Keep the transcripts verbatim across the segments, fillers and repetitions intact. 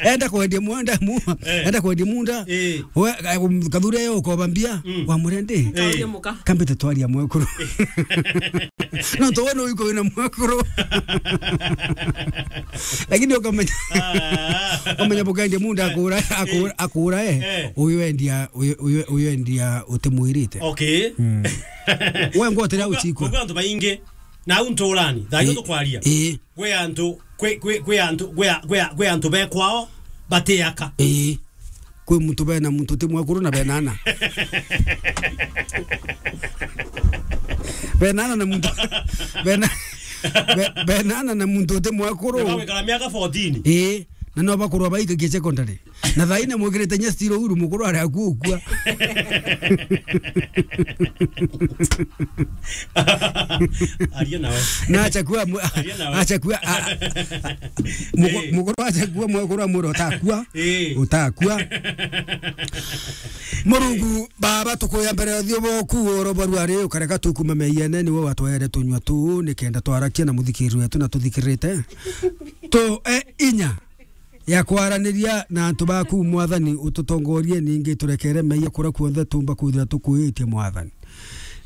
Enda kwendia munda, mu-, Eh. enda kwendia munda. Eh. We, eh, um, kathure yo ukoba mbia, Mm. wa murende. Eh. Kauria muka. Kambite twaria mwekuru. No to wona uko wina mwekuru. Lakini ukamenya. Ah. Ukamenya bukendia munda akura, akura, Eh. akura, eh. Eh. Uyu endia, uyu, uyu, uyu endia utimwirite. Okay. Mm. We ngwotera Kwa, uchikwa. kwa antu baingi, na au nturani, thayo Eh. tukwaria. Eh. Kwi antu, kwi, kwi, kwi antu, kwi a-, kwi a-, kwi antu bekwao batiaka. Ii. Kwi muntu bena muntu ti mwekuru na bena ana. Bena ana na muntu, bena, be-, bena ana na muntu ti mwekuru. Ndio wikara miaka fourteen. Ii. Na no bakurwa baikagia secondary. Na thaine mwikirite nya stilo uru mukuru ari akua ukua. Aria nawe. Na achakua mu-, Aria nawe. achakua, a-, a-, a-, mugo-, Eh. mugoro achakua mwekuru amwira utakua. Eh. Utakua. Murungu baba tukuya mbere ya uthio boku oro barua ri ukareka tukuma meyene niwe watwere tunywa tu nikenda twarakia na muthikiriri wetu na tuthikirite. Tu e inya ya kwaraniria na antu baku, Mwathani, ututongorie, ningi turekere meeyia kuria kuonthe tuumba kwithira tukuitie, Mwathani.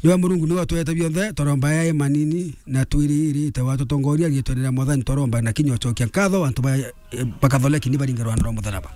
Niwe Murungu, niwe utwete bionthe, twaromba ya manini na twiriirite, watutongoria riitwene ria Mwathani, twaromba na kinya ucokia nkatho, antu ba, eh, bakatholeki ni baringe rwanda rwa mutharaba.